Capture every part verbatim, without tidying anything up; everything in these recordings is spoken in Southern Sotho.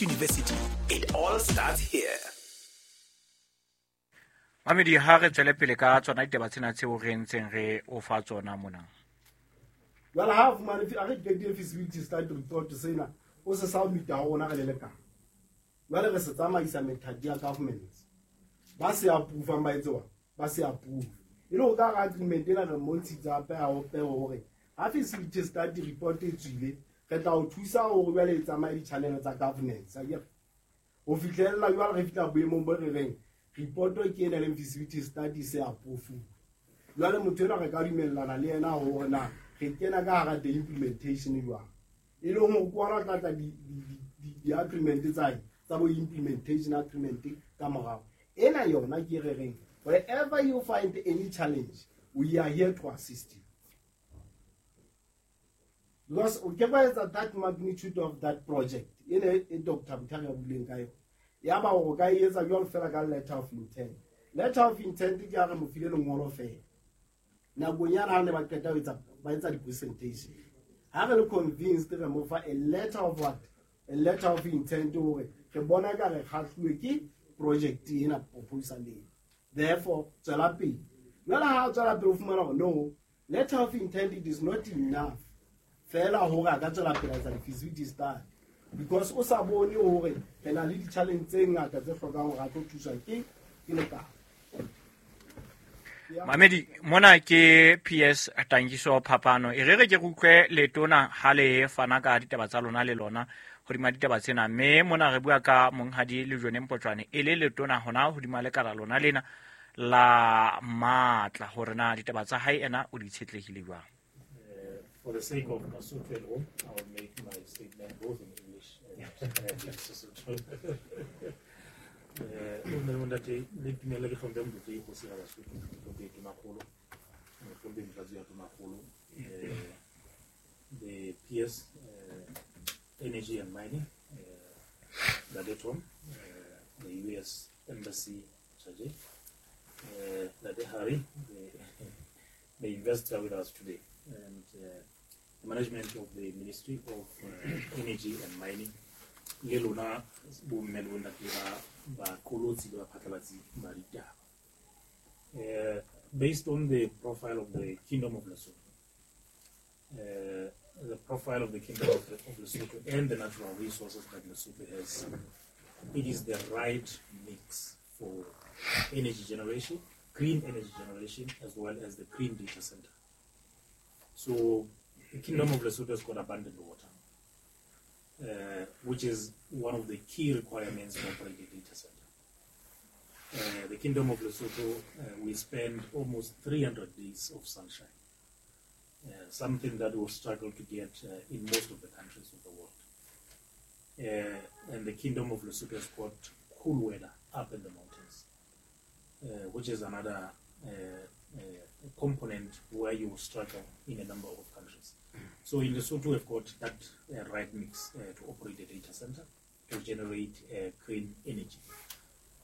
University. It all starts here. Mamedi, ha re tswele pele ka tsona ditaba tsena tseo re ntseng re o fa tsona mona. Jwale ha fumane a re qetile feasibility study report sena, o se submit ho rona re le lekala. Jwale re se tsamaisa methati ya government. Ba se approve ba etse ba se approve. E le ho ka ra agreement ena re mmontshitse hape a ope hore ha feasibility study report e tswile, re tla o thusa hore jwale e tsamaye di-channel tsa governance. Akere ho fihlella jwale re fihla boemong bo re reng report ke ena leng feasibility study se approve. Jwale motho enwa re ka dumellana le yena hore na re kena ka hara the implementation jwang. E leng hore ke ona tla tla di-agreement tsa tsa bo implementation agreement ka morao. Ena yona ke re reng wherever you find any challenge, we are here to assist you. Because o ke ba etsa that magnitude of that project ene e Doctor Mthari a buileng ka yona. Ya ba o ka e etsa jwalo fela ka letter of intent. Letter of intent ke a re mo file lengolo fela. Nakong yana ha ne ba qeta ho etsa ba etsa di-presentation. Ha re le convinced re mo fa a letter of what? A letter of intent hore re bona ka re kgahluwe ke project ena proposal ena. Therefore, tswela pele. Jwale ha tswela pele o fumana hore no, letter of intent it is not enough. Fela hore a ka tswela pele a etsa di-feasibility study. Because o sa bone hore re na le di-challenge tse ngata tse hlokang hore a tlo thuswa ke ke lekala. Mamedi, mona ke P S Tankiso Phapano. E re re ke re utlwe letona ha le fana ka ditaba tsa lona le lona hodima ditaba tsena. Mme mona re bua ka monghadi Lejone Mpotjoane e le letona hona hodima lekala lona lena la matla, hore na ditaba tsa hae ena o di tshetlehile jwang. For the sake of Basotho at home, I will make my statement both in English and in Sesotho. O ne ntate le dumela ke hlomphe motho e go sira Basotho, hlomphe Tonakgolo, hlomphe Motlatsi ya Tonakgolo, the P S uh, Energy and Mining, uh, Ntate Tom, uh, the U S Embassy Charge, uh, Ntate Harry, the, the investor with us today, and uh, the management of the Ministry of uh, Energy and Mining, le lona bomme le bontate ba ba qolotsi le ba phatlalatsi ba ditaba. Uh, based on the profile of the Kingdom of Lesotho, uh, the profile of the Kingdom of, of Lesotho and the natural resources that Lesotho has, it is the right mix for energy generation, green energy generation, as well as the green data center. So the Kingdom of Lesotho has got abundant water, uh, which is one of the key requirements for operating a data center. Uh, the Kingdom of Lesotho, uh, we spend almost three hundred days of sunshine, uh, something that we'll struggle to get, uh, in most of the countries of the world. Uh, and the Kingdom of Lesotho has got cool weather up in the mountains, uh, which is another, uh, uh, component where you will struggle in a number of countries. So in Lesotho, we've got that, uh, right mix, uh, to operate a data center, to generate, uh, green energy.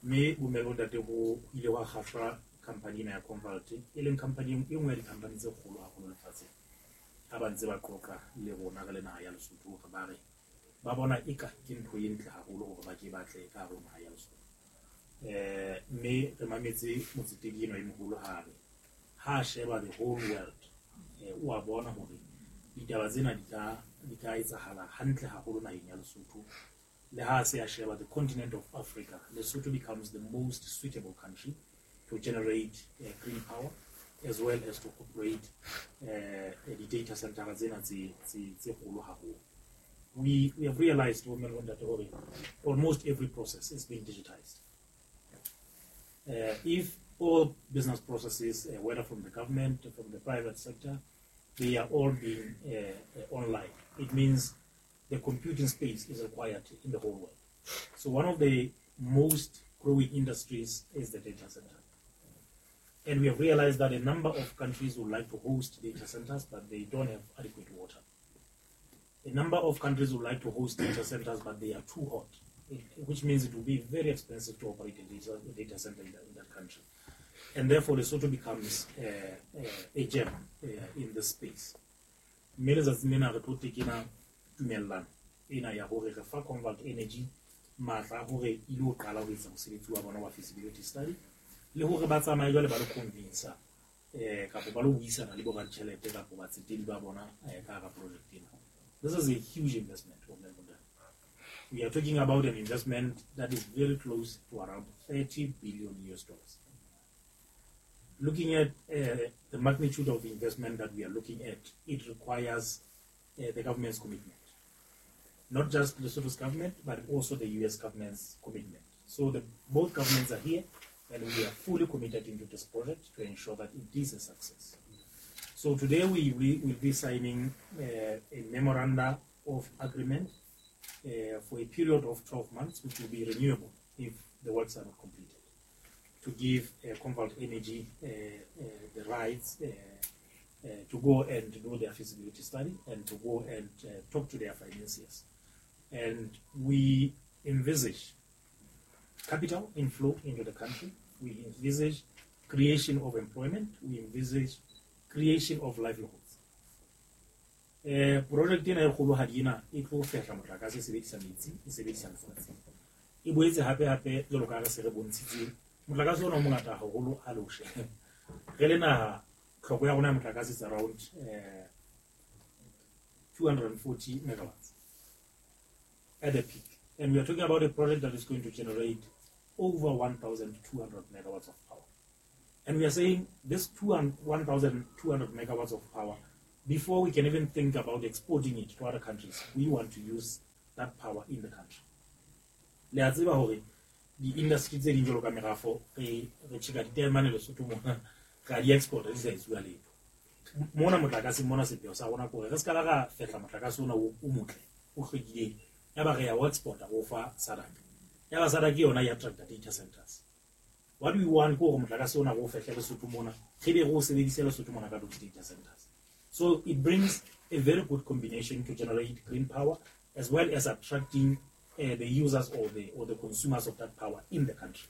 Me bomme le bontate ho ile wa kgahlwa company ena ya Convalt, e leng company e nngwe ya di-company tse kgolo haholo lefatsheng. Ha ba ntse ba qoqa le rona re le naha ya Lesotho, hore ba re ba bona eka ke ntho e ntle haholo hore ba ke ba tle ka hare ho naha ya Lesotho. Eh, mme re mametse motsetedi enwa e moholo ha re ha sheba the whole world, eh, o a bona hore ditaba tsena di ka, di ka etsahala hantle haholo naheng ya Lesotho. Le ha se a sheba the continent of Africa, Lesotho becomes the most suitable country to generate, uh, green power as well as to operate, uh, the data center tsena tse, tse, tse kgolo haholo. We, we have realized, women, that almost every process is being digitized. Uh, if all business processes, uh, whether from the government or from the private sector, they are all being, uh, uh, online. It means the computing space is required in the whole world. So one of the most growing industries is the data center. And we have realized that a number of countries would like to host data centers, but they don't have adequate water. A number of countries would like to host data centers, but they are too hot, which means it will be very expensive to operate a data, a data center in that, in that country. And therefore, Lesotho becomes, uh, uh, a gem, uh, in this space. Mme letsatsing lena re tlo tekena tumellano ena ya hore re fa Convalt Energy matla hore e lo qala ho etsa mosebetsi wa bona wa feasibility study le hore ba tsamaye jwale ba lo convince eh kapa ba lo buisana le bo raditjhelete kapa batsetedi ba bona ka hara project ena. This is a huge investment. We are talking about an investment that is very close to around thirty billion U S dollars. Looking at uh, the magnitude of the investment that we are looking at, it requires uh, the government's commitment. Not just the Lesotho's government, but also the U S government's commitment. So the, both governments are here, and we are fully committed into this project to ensure that it is a success. So today we, we will be signing uh, a memoranda of agreement uh, for a period of twelve months, which will be renewable if the works are not completed, to give uh, Convalt Energy uh, uh, the rights uh, uh, to go and do their feasibility study and to go and uh, talk to their financiers. And we envisage capital inflow into the country. We envisage creation of employment. We envisage creation of livelihoods. Eh, project ena e kgolohadi ena e tlo fehla motlakase e sebedisa metsi, e sebedisa lefatshe. E boetse hape hape jwalo ka re se re bontshitse motlakase ona o mongata haholo ha le o sheba. Re le naha tlhoko ya rona ya motlakase is around eh, two hundred forty megawatts at the peak. And we are talking about a project that is going to generate over one thousand two hundred megawatts of power. And we are saying this one thousand two hundred megawatts of power, before we can even think about exporting it to other countries, we want to use that power in the country. Le a tseba hore di-industry tse ding jwalo ka merafo, re re tjheka ditaemane Lesotho mona, ra di exporta di sa etsuwa letho. Mona motlakase mona sepheo sa rona ke hore re ska la ra fehla motlakase ona o motle, o hlwekileng. Ya ba re ya o exporta go fa S A D C. Ya ba S A D C yona ya attracta data centers. What we want ke hore motlakase ona go fehle Lesotho mona, re be re o sebedise Lesotho mona ka those data centers. So it brings a very good combination to generate green power as well as attracting uh, the users or the or the consumers of that power in the country.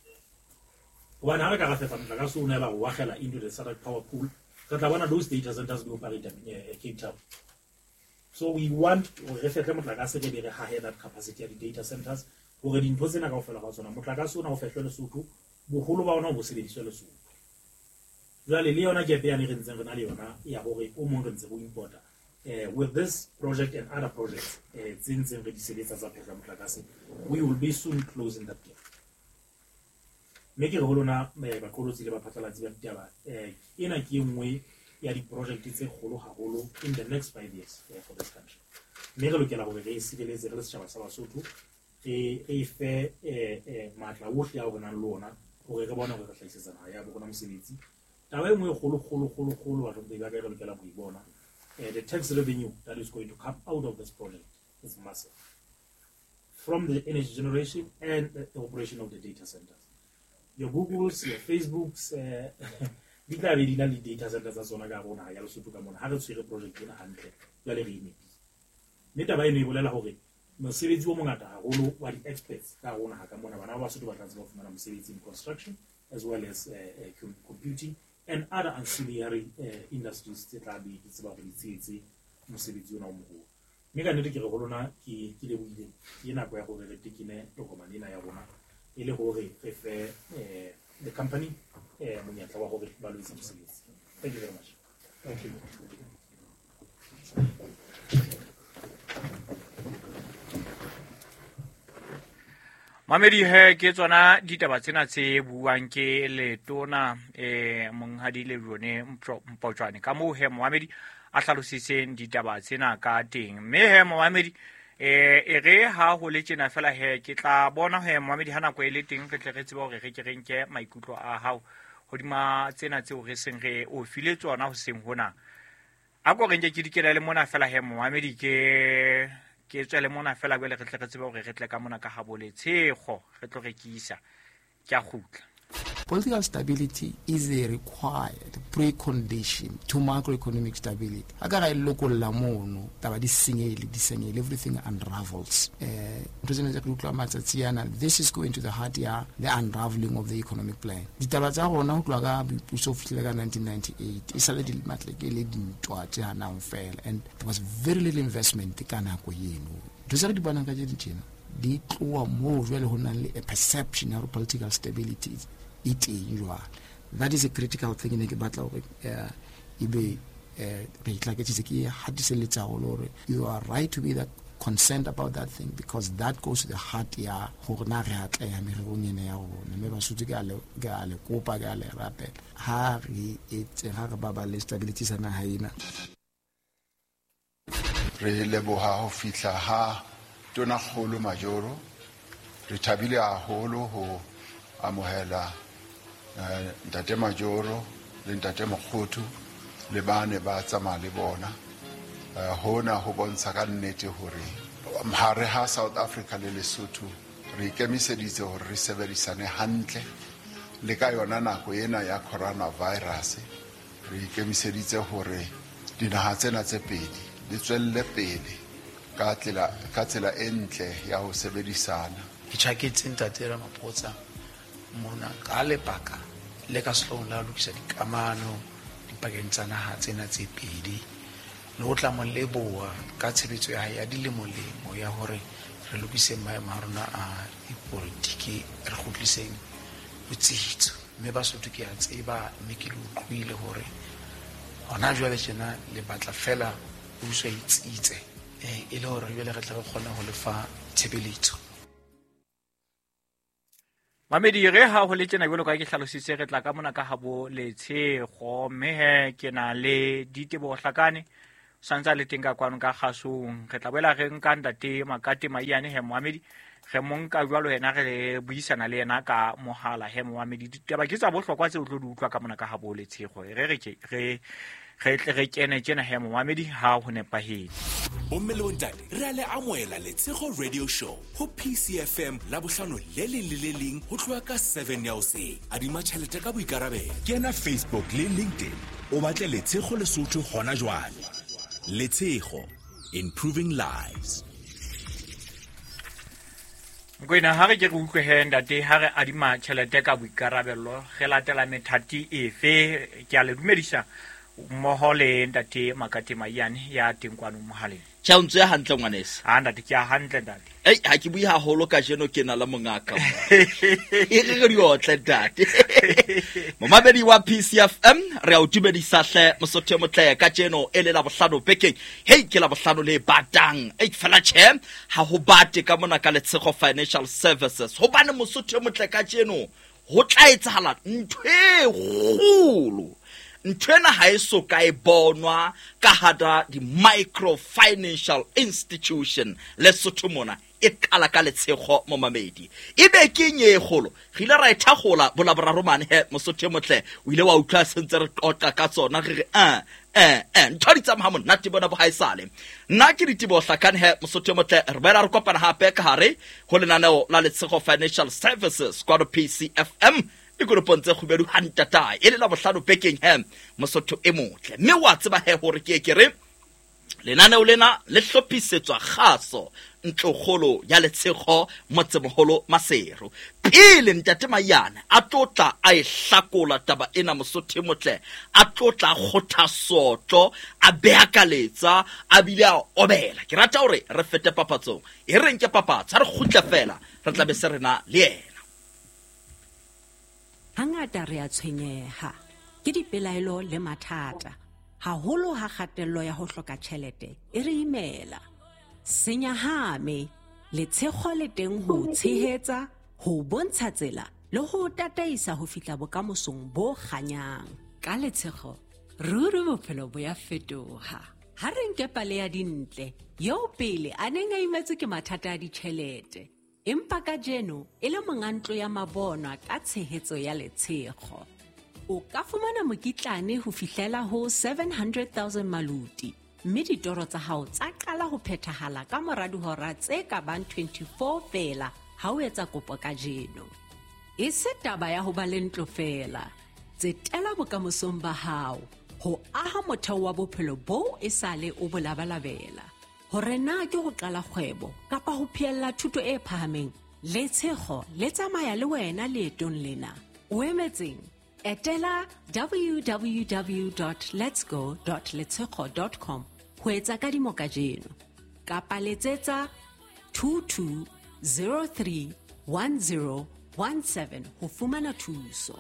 Hobane ha re ka ra fehla motlakase ona ba o akgela into the S A D C power pool, re tla bona those data centers di operate uh, Cape Town. So we want hore re fehle motlakase re be re hahe that capacity ya di-data centers hore dintho tsena kaofela ga tsona motlakase ona o fehlwe Lesotho, boholo ba ona bo sebediswe Lesotho. Jwale le yona gap yane re ntseng re na le yona ya hore o mong re ntse re importa. Eh, with this project and other projects eh tse ntseng re di sebetsa tsa phehlo ya motlakase, we will be soon closing that gap. Mme ke re ho lona baqolotsi le baphatlalatsi ba ditaba, eh ena ke e nngwe ya di-project tse kgolo haholo in the next five years eh, for this country. Mme re lokela hore re e sireletse re le setjhaba sa Basotho, re re fe eh, eh, matla ohle ao re nang le ona hore re bone hore re hlahisetsa naha ya bo rona mosebetsi. Taba e nngwe e kgolo, kgolo, kgolo, kgolo batlhomphehi ba ka e re lokelang ho e bona, eh, the tax revenue that is going to come out of this project is massive. From the energy generation and the operation of the data centers. Your Googles, your Facebooks, eh, di tla be di na le data centers tsa tsona ka hare ho naha ya Lesotho ka mona. Ha re tshwere project ena hantle, jwale re e nepile. Mme taba eno e bolela hore mosebetsi o mongata haholo wa di-experts ka hare ho naha ka mona, bana ba Basotho ba tla tseba ho fumana mosebetsi in construction as well as uh, uh, computing and other ancillary uh, industries tse tla be di tseba hore di tshehetse mosebetsi ona o moholo. Mme ka nnete ke re ho lona ke ke lebohile, ke nako ya hore re tekene tokomane ena ya rona e le hore re fe eh, the company eh, monyetla wa hore ba lo etsa mosebetsi. Thank you very much. Thank you. Mamedi he ke tsona ditaba tsena tse buang ke letona eh monghadi Lejone Mpotjoane ka moo he momamedi a hlalositseng ditaba tsena ka teng. Mme he momamedi eh e re ha ho le tjena fela he ke tla bona he momamedi ha nako e le teng re tle re tsebe hore re ke re nke maikutlo a hao hodima tsena tseo re seng re o file tsona hoseng hona. A ko re nke ke dikela le mona fela he momamedi ke ke tswele mona fela jwale re tle re tsebe hore re tle ka mona ka habo Letshego re tlo rekisa. Ke a kgutla. Political stability is a required precondition to macroeconomic stability. Ha ka ra e lokolla mono, taba di senyehile, di senyehile, everything unravels. Eh, ntho tsena tse re utlwa matsatsi ana, this is going to the heart ya the unraveling of the economic plan. Ditaba tsa rona ho tloha ka boipuso ho fihlela ka nineteen ninety-eight, e sale di matleke le dintwa tse hanang fela, and there was very little investment ka nako eno. Ntho tse re di bonang kajeno tjena di tloha moo jwale ho nang le a perception ya political stability e teng jwale. That is a critical thing ne ke batla hore ebe re itlaketsitse ke hatiselletsa haholo hore you are right to be that concerned about that thing, because that goes to the heart ya hore na re atleha mererong ena ya rona. Mme Basotho ke a le ke a le kopa, ke a le rapela, ha re etse ha re baballe stability sa naha ena. Re leboha ho fihla ha Tonakgolo Majoro. Re thabile haholo ho amohela ntate Majoro le ntate Mokgothu le bane ba tsamaya le bona. Hona ho bontsha ka nnete hore hare ha South Africa le Lesotho re ikemiseditse hore re sebedisane hantle le ka yona nako ena ya coronavirus. Re ikemiseditse hore dinaha tsena tse pedi di tswelle pele ka tsela ka tsela e ntle ya ho sebedisana. Ke tjhaketse ntate Ramaphosa mona ka lebaka le ka sehloohong la ho lokisa dikamano dipakeng tsa naha tsena tse pedi, le ho tla mo leboha ka tshebetso ya hae ya dilemolemo ya hore re lokise maemo a rona a dipolitiki, re kgutliseng botsitso. Mme Basotho ke a tseba, mme ke le utlwile hore hona jwale tjena le batla fela puso e tsitse, e le hore jwale re tle re kgone ho lefa tshebeletso. Mamedi, re ha ho le tjena jwalo ka ke hlalositse, re tla ka mona ka habo Letshego, mme he ke na le Diteboho Hlakane santsa le teng ka kwano ka kgasong. Re tla boela re nka ntate Makate Maiyane he Mohamedi, re mo nka jwalo yena re buisana le yena ka mohala he Mohamedi. Ditaba ke tsa bohlokwa tseo o tlo di utlwa ka mona ka habo Letshego. Re re ke re re tle re kene tjena he Mohamedi ha ho nepahetse. Bomme le bontate, re a le amohela Letshego Radio Show ho P C F M la bohlano le leng le le leng ho tloha ka seven ya hoseng. Adima tjhelete ka boikarabelo. Kena Facebook le LinkedIn o batle Letshego Lesotho hona jwale. Letshego, improving lives. Mokoena, ha re ke re utlwe he ntate, ha re adima tjhelete ka boikarabelo re latela methati efe? Ke a le dumedisa mmoho le ntate Makate Maiyane ya teng kwano mohaleng. Tjhe, o ntse hantle ngwaneso. Ah ntate, ke a hantle ntate. Ei, ha ke bue haholo kajeno, ke na le mongaka. E re re diotle ntate. Momamedi wa P C F M, re a o dumedisa hle Mosotho e motle kajeno e le la bohlano bekeng. Hei, ke la bohlano le batang. Ei, fela tjhe, ha ho bate ka mona ka Letshego Financial Services. Hobane Mosotho e motle kajeno ho tla etsahala ntho e kgolo. Ntho ena ha e so ka e bonwa ka hara di-micro financial institution Lesotho mona, e qala ka Letshego momamedi. Ebe ke eng e kgolo? Re ile ra e thakgola bolaboraro mane he Mosotho e motle, o ile wa utlwa sentse re qoqa ka tsona re re eh eh eh ntho di tsamaya monate bona bo haesale. Nna ke Diteboho Hlakane he Mosotho e motle, re boela re kopana hape ka hare ho lenaneo la Letshego Financial Services kwa P C F M dikoropong tse kgubedu hantatae e le la bohlano bekeng he Mosotho e motle. Mme wa tseba he hore ke ke re lenaneo lena le hlophisetswa kgaso ntlokgolo ya Letshego motsemoholo Maseru. Pele ntate Maiyane a tlotla a e hlakola taba ena Mosotho e motle, a tlotla kgotha sotlo, a beakaletsa, a bile a obela. Ke rata hore re fete papatsong, e reng ke papatso, ha re kgutle fela re tla be se rena le yena. Hangata re a tshwenyeha ke dipelaelo le mathata, haholo ha kgatello ya ho hloka tjhelete e re imela. Senyahame, Letshego le teng ho tshehetsa, ho bontsha tsela le ho tataisa ho fihla bokamosong bo kganyang. Ka Letshego, ruri bophelo bo ya fetoha. Ha re nke pale ya Dintle, eo pele a neng a imetswe ke mathata a ditjhelete, empa kajeno e le monga ntlo ya mabonwa ka tshehetso ya Letshego. O ka fumana mokitlane ho fihlela ho seven hundred thousand maluti, mme ditoro tsa hao tsa qala ho phethahala ka mora dihora tse ka bang twenty-four feela ha o etsa kopo kajeno. E se taba ya ho ba le ntlo feela, tsetela bokamosong ba hao ho aha motheo wa bophelo boo e sale o bo labalabela. Hore na ke ho qala kgwebo kapa ho phehella thuto e phahameng, Letshego le tsamaya le wena leetong lena. O emetseng? Etela w w w dot letsgo dot letshego dot com ho etsa kadimo kajeno, kapa letsetsa two two zero three one zero one seven ho fumana thuso.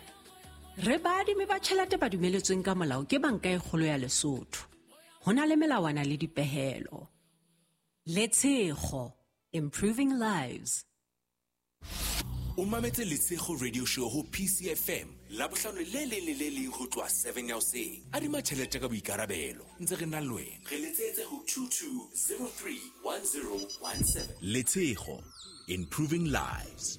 Re baadimi ba tjhelete ba dumeletsweng ka molao ke Banka e Kgolo ya Lesotho. Ho na le melawana le dipehelo. Letshego, improving lives. O mametse Letshego Radio Show ho P C F M Labohlano le leng le le leng ho tloha seven ya hoseng. Adima tjhelete ka boikarabelo ntse re na le wena. Re letsetse ho two two zero three one zero one seven. Letshego, improving lives.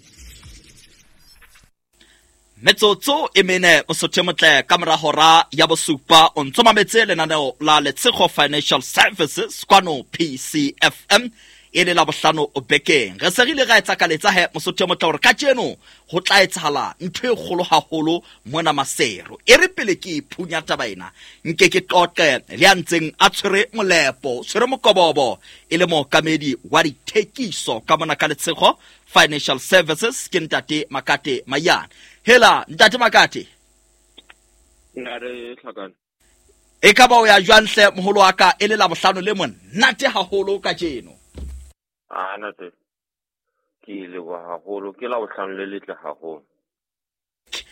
Metsotso e mene mosotho motle ka mora hora ya bosupa o ntso mametse lenaneo la Letshego Financial Services kwano P C F M e le la bohlano bekeng. Re se re ile ra etsa ka letsa he mosotho motle hore kajeno ho tla etsahala ntho e kgolo haholo mona Maseru. E re pele ke phunya taba ena nke ke qoqe le ya ntseng a tshwere molepo, tshwere mokobobo e le mookamedi wa dithekiso ka mona ka Letshego Financial Services ke ntate Makate Mayane. Hela ntate Makate. Nare hlakana. E ka ba o ya jwang hle moholo wa ka e le la bohlano le monate haholo kajeno. Ah nate. Ke leboha haholo, ke la bohlano le letle haholo.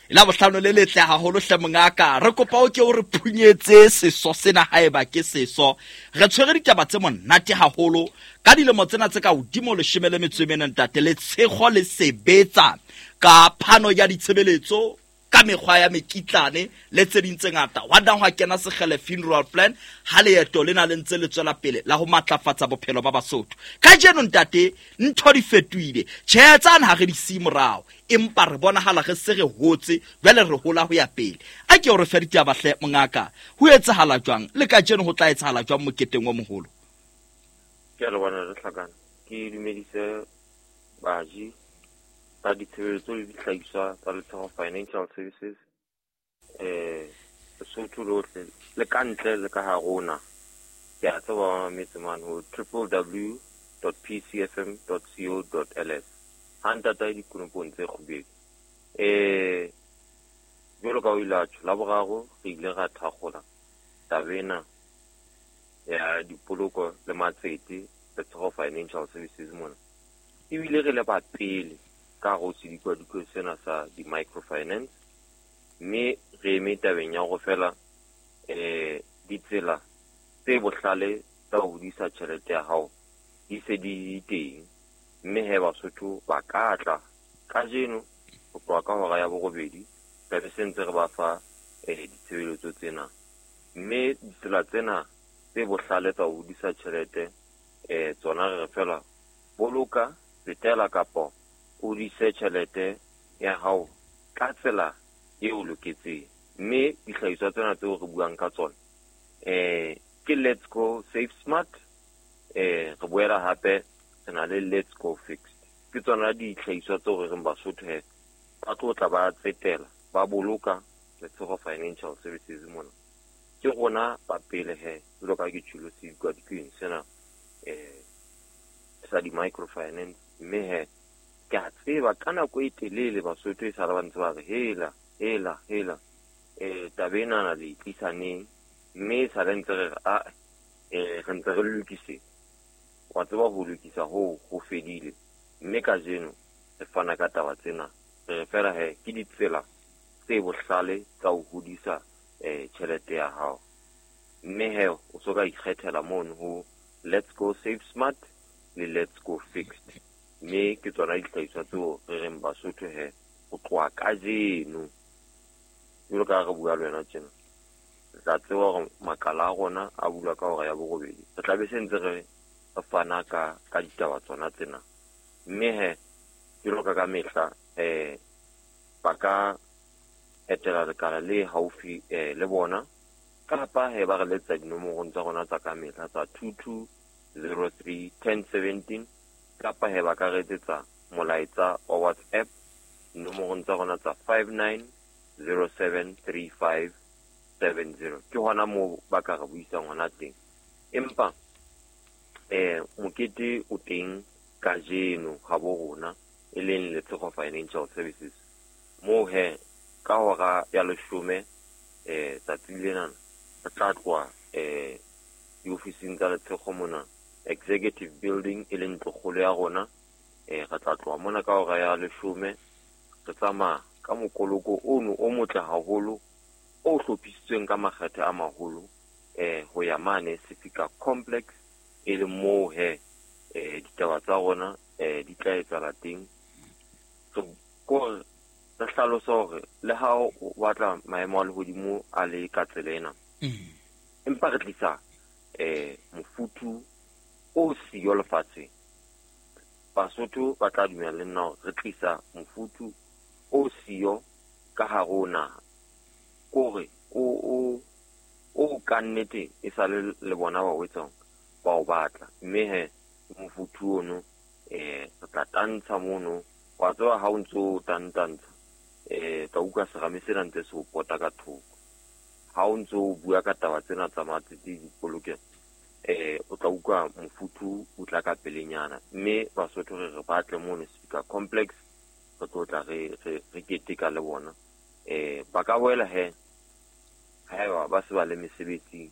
La bohlano le letle haholo hle mongaka. Re kopa o ke o re phunyetse seso sena haeba ke seso. Re tshwere ditaba tse monate haholo ka dilemo tsena tse ka hodimo leshome le metso e mene ntate Letshego le sebetsa ka phano ya ditshebeletso ka mekgwa ya mekitlane le tse ding tse ngata. Wa dang hwa kena Sekgele funeral plan ha leeto lena le ntse le tswela pele la ho matlafatsa bophelo ba Basotho. Kajeno ntate ntho di fetohile. Tjhe tsane ha re di siye morao, empa re bonahala re se re hotse jwale re hola ho ya pele. A ke o re fe ditaba hle mongaka. Ho etsahala jwang le kajeno ho tla etsahala jwang moketeng o moholo? Ke a leboha re hlakana. Ke dumedise baji ba ditshebeletso le dihlahiswa tsa Letshego Financial Services eh Lesotho lohle le ka ntle le ka ha rona. Ke a tseba ba mametse mane ho w w w dot p c f m dot co dot l s. Ha ntata dikonopong tse kgubedu. Eh jwalo ka o ile a tjho, la boraro re ile ra thakgola taba ena ya dipoloko le matsete Letshego Financial Services mona. Ebile re le ba pele ka go sedikwadikwe sena sa di-microfinance, mme re eme tabeng ya go fela eh ditsela tse bohlale tsa ho hodisa tjhelete ya hao di se di teng, mme he Basotho ba ka tla kajeno ho tloha ka hora ya borobedi tla be se ntse re ba fa eh ditshebeletso tsena. Mme ditsela tsena tse bohlale tsa ho hodisa tjhelete eh tsona re re fela boloka, tsetela kapo o hodise tjhelete ya hao ka tsela e o loketseng. Mme dihlahiswa tsena tseo re buang ka tsona eh ke Let's Go Save Smart, eh re boela hape re na le Let's Go Fixed. Ke tsona dihlahiswa tseo re reng Basotho he ba tlo tla ba tsetela ba boloka Letshego Financial Services mona. Ke rona ba pele he jwalo ka ke tjholo sedikwadikweni sena eh sa di-microfinance. Mme he ke a tseba ka nako e telele Basotho e sala ba ntse ba re hela hela hela eh taba enana le e tlisa neng, mme e sale ntse re re a eh re ntse re lokisetsa. Wa tseba ho lokisa hoo ho fedile, mme kajeno re fana ka taba tsena re re fela he ke ditsela tse bohlale tsa ho hodisa eh tjhelete ya hao. Mme he o so ka ikgethela mono ho Let's Go Save Smart le Let's Go Fixed. Mme ke tsona dihlahiswa tseo re reng Basotho he ho tloha kajeno jwalo ka ha re bua le wena tjena, re tla tseba hore makala a rona a bulwa ka hora ya borobedi. Re tla be se ntse re fana ka ka ditaba tsona tsena. Mme he jwalo ka ka mehla eh ba ka etela lekala le haufi eh le bona, kapa he ba re letsa dinomorong tsa rona tsa ka mehla tsa two two zero three ten seventeen, kapa he ba ka re etsetsa molaetsa wa WhatsApp dinomorong tsa rona tsa five nine zero seven three five seven zero. Ke hona moo ba ka re buisang hona teng. Empa eh mokete o teng kajeno ha bo rona e leng Letshego Financial Services moo he ka hora ya leshome eh tsatsi lena re tla tloha eh diofising tsa Letshego mona Executive Building e leng ntlokgolo ya rona. Eh re tla tloha mona ka hora ya leshome re tsamaya ka mokoloko ono o motle haholo o hlophisitsweng ka makgethe a maholo eh ho ya mane Sefika Complex e le moo he eh ditaba tsa rona eh di tla etsahala teng. So ko re hlalosa hore le ha o batla maemo a lehodimo a le ka tsela ena, empa re tlisa eh mofuthu o siyo lefatsheng. Basotho ba tla dumela le nna hore re tlisa mofuthu o siyo ka hare ho naha, kore o o o ka nnete e sa le le bona ba o etsang ba o batla. Mme he mofuthu ono eh re tla tantsha mono, wa tseba ha o ntso tantantsha eh tla utlwa serame sena ntse se o pota ka thoko. Ha o ntso o bua ka taba tsena tsa matsete dipolokelo eh o tla utlwa mofuthu o tla ka pelenyana. Mme Basotho re re batle mono Sefika Complex re tlo tla re re re keteka le bona. Eh ba ka boela he haeba ba se ba le mesebetsing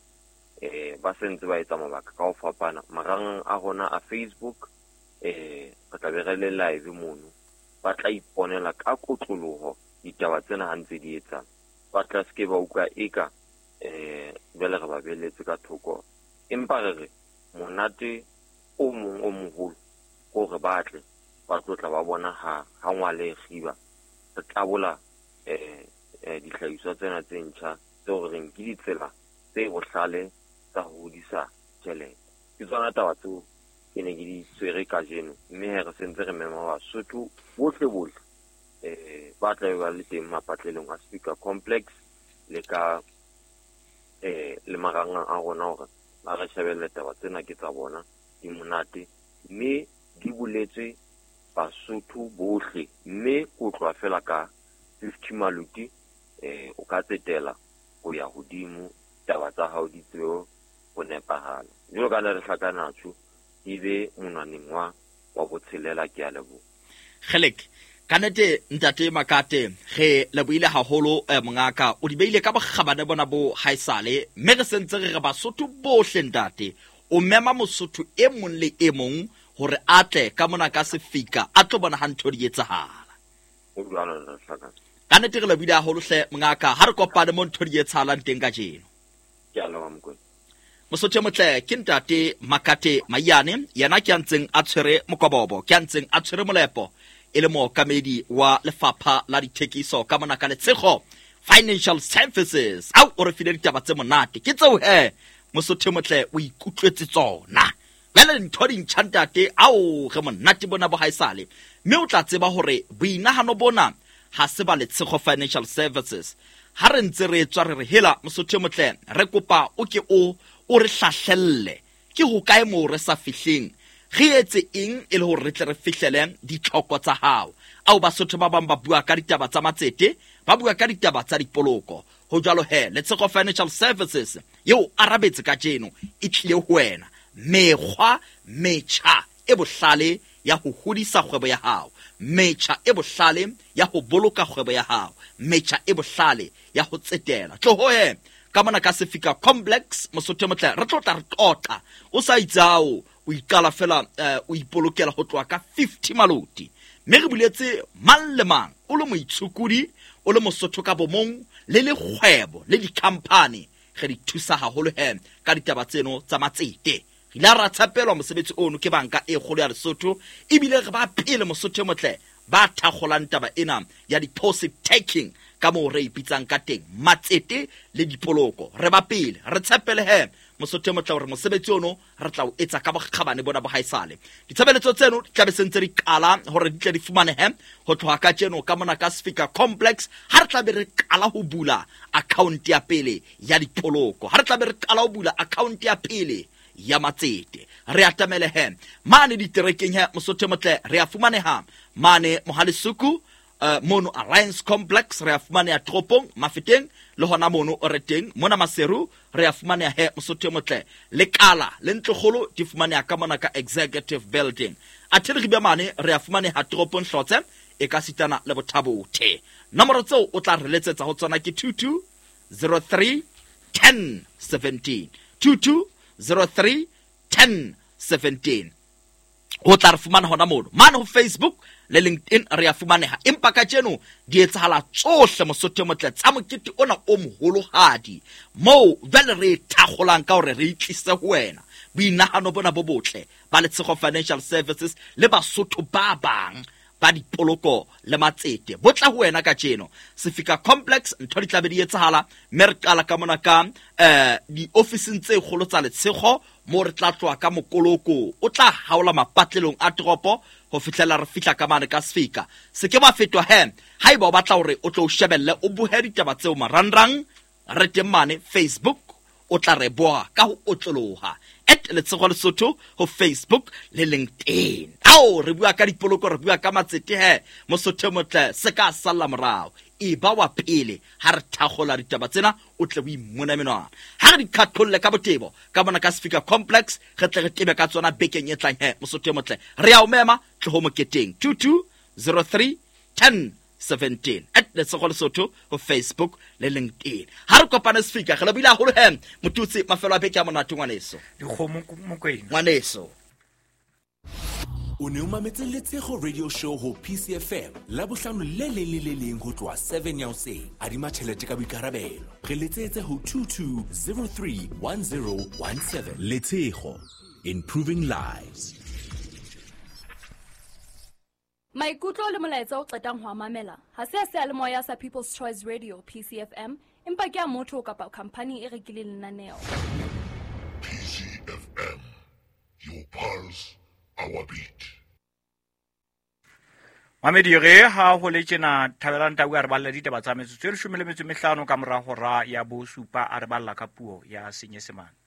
eh ba sentse ba etsa mabaka ka ho fapana marangrang a rona a Facebook eh re tla be re le live mono, ba tla iponela ka kotloloho ditaba tsena ha ntse di etsang. Ba tla se ke ba utlwa eka eh jwale re ba beletse ka thoko, empa re re monate o mong o moholo hore ba tle ba tlo tla ba bona ha ha ngwale kgiba re tlabola eh eh dihlahiswa tsena tse ntjha tseo re reng ke ditsela tse bohlale tsa ho hodisa tjhelete. Ke tsona taba tseo ke ne ke di tshwere kajeno, mme he re sentse re mema Basotho bohle bohle eh ba tla be ba le teng mapatlelong a Sefika Complex le ka eh le marangrang a rona hore ba re shebelle taba tsena ke tsa bona di monate mme di boletswe Basotho bohle. Mme ko tloha fela ka fifty maluti eh o ka tsetela ho ya hodimo, taba tsa hao di tsebe ho nepahala. Jwalo ka le re hlakanatsho di be monwaneng wa wa botshelela. Ke a leboha. Kgelek ka nnete ntate Makate re lebohile haholo eh, mongaka o di beile ka bokgabane bona bo haesale, mme re sentse re re Basotho bohle ntate o mema Mosotho e mong le e mong hore a tle ka mona ka Sefika a tlo bona ha ntho di etsahala. O jwalo re hlakana. Ka nnete re lebohile haholo hle mongaka, ha re kopane mo ntho di etsahalang teng kajeno. Ke a leboha Mokoena. Mosotho e motle ke ntate Makate Maiyane, yena ke a ntseng a tshwere mokobobo, ke a ntseng a tshwere molepo e le mookamedi wa lefapha la dithekiso ka mona ka Letshego Financial Services. Au o re file ditaba tse monate ke tseo he Mosotho e motle o ikutlwetse tsona. Jwale ntho di ntjha ntate, ao re monate bona bo haesale, mme o tla tseba hore boinahano bona ha se ba Letshego Financial Services. Ha re ntse re tswa re re hela Mosotho e motle re kopa o ke o o re hlahlelle ke hokae moo re sa fihleng, re etse eng e le hore re tle re fihlele ditlhoko tsa hao. Ao Basotho ba bang ba bua ka ditaba tsa matsete, ba bua ka ditaba tsa dipoloko. Ho jwalo he Letshego Financial Services eo arabetse kajeno e tlile ho wena mekgwa metjha e bohlale ya ho hodisa kgwebo ya hao, metjha e bohlale ya ho boloka kgwebo ya hao, metjha e bohlale ya ho tsetela. Tloho he ka mona ka Sefika Complex Mosotho e motle re tlo tla re qoqa o sa itsao o iqala fela eh, o ipolokela ho tloha ka fifty maloti, mme re buletse mang le mang o le moitshokodi o le Mosotho ka bomong le le kgwebo le di-company re di thusa haholo he ka ditaba tseno tsa matsete. Re ile ra tshepelwa mosebetsi ono ke banka e kgolo ya Lesotho, ebile re ba pele Mosotho e motle ba thakgolang taba ena ya deposit taking ka moo re ipitsang ka teng, matsete le dipoloko. Re ba pele re tshepele he Mosotho e motle hore mosebetsi ono re tla o etsa ka bokgabane bona bo haesale. Ditshebeletso tseno di tla be sentse di qala hore di tle di fumanehe ho tloha ka tjeno ka mona ka Sefika Complex ha re tla be re qala ho bula account ya pele ya dipoloko, ha re tla be re qala ho bula account ya pele ya matsete. Re atamele he mane diterekeng he Mosotho e motle re a fumaneha mane Mohalesuku uh, mono Alliance Complex, re a fumaneha toropong Mafeteng le hona mono o re teng mona Maseru re a fumaneha he Mosotho e motle. Lekala le ntlokgolo di fumaneha ka mona ka Executive Building. Athe re be mane re a fumaneha toropong Hlotse e ka sitana le Bothabothe. Nomoro tseo o tla re letsetsa ho tsona ke two two zero three ten seventeen, two two zero three ten seventeen. O tla re fumana hona mono mane ho Facebook le LinkedIn re ya fumaneha. Empa kajeno di etsahala tsohle Mosotho motle tsa mokete ona o moholohadi moo jwale re thakgolang ka hore re itlise ho wena boinahano bona bo botle ba Letshego Financial Services le Basotho ba bang ba dipoloko le matsete bo tla ho wena kajeno. Sefika Complex ntho di tlabe di etsahala, mme re qala ka mona ka eh diofising tse kgolo tsa Letshego mo re tla tloha ka mokoloko o tla haola mapatlelong a toropo ho fihlela re fihla ka mane ka Sefika. Se ke ba fetwa he haeba o batla hore o tlo shebelle o bohe ditaba tseo marangrang, re teng mane Facebook, o tla re boha ka ho otloloha at Letshego Lesotho ho Facebook le LinkedIn. Ao re bua ka dipoloko, re bua ka matsete he Mosotho motle, se ka salla morao, e ba wa pele ha re thakgola ditaba tsena o tle o imona menwana. Ha re di qhaqholle ka botebo ka mona ka Sefika Complex, re tle re tebe ka tsona bekeng e tlang he Mosotho motle. Re a o mema tloho moketeng two two zero three ten seventeen at Letshego Lesotho ho Facebook le LinkedIn. Ha re kopane Sefika, re lebile haholo he Motutsi, mafelo a beke a monate ngwaneso. Dikgomo Mokwena. Ngwaneso. O ne o mametse Letshego Radio Show ho P C F M la bohlano le leng le le leng ho tloha seven ya hoseng. Adima tjhelete ka boikarabelo. Re letsetse ho two two zero three one zero one seven. Letshego, improving lives. Maikutlo le molaetsa o qetang ho mamela ha se a seyalemoya sa People's Choice Radio P C F M, empa ke a motho kapa company e rekileng lenaneo. P C F M, your pulse, our beat. Mamedi re ha ho le tjena Thabelang Tau a re balla ditaba tsa metsotso e leshome le metso e mehlano ka mora hora ya bosupa, a re balla ka puo ya Senyesemane.